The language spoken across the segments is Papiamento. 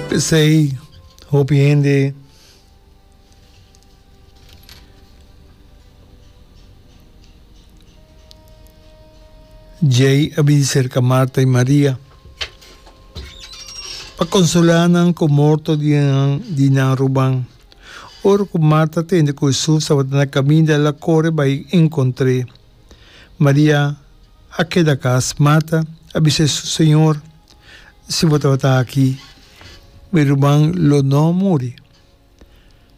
P'esei hopi hende djei a bini serka Marta i Maria pa konsolá nan ku morto di nan di nan ruman. Ora ku Marta a tende ku Hesus tabata na kaminda, el a kore bai enkontr'é. Maria a keda kas. Marta a bisa Hesus, Señor, si bo tabata aki, mi ruman lo no a muri.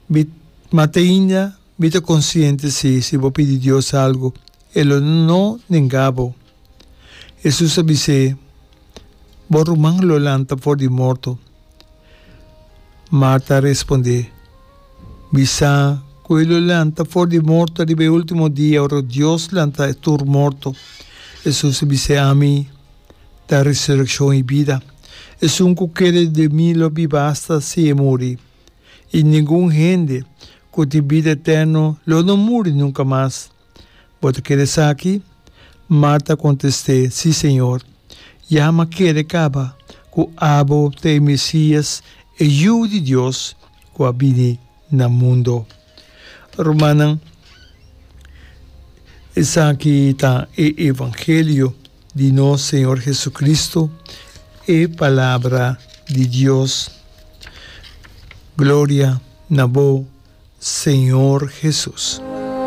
Mi, ma te ainda mi ta konsiente si, si bo pidi Dios algu, e lo no nenga bo. Hesus a bis'é, Bo ruman lo lanta for di morto. Marta a respondé, Mi sa ku e lo lanta for di morto riba e último dia ora Dios lanta tur morto. Hesus a bis'é, Ami ta resurekshon i bida. Esun ku kere den mi lo biba asta si e muri, i ningun hende ku tin bida eterno lo no muri nunka mas. Bo ta kere esaki? Marta a kontest'é, Sí, Señor. Ya m'a kere kaba ku abo ta e Mesías, e Yu di Dios, ku a bini na mundo. Rumannan, esaki ta e evangelio di nos Señor Jesucristo, e Palabra di Dios. Gloria na bo, Señor Jesus.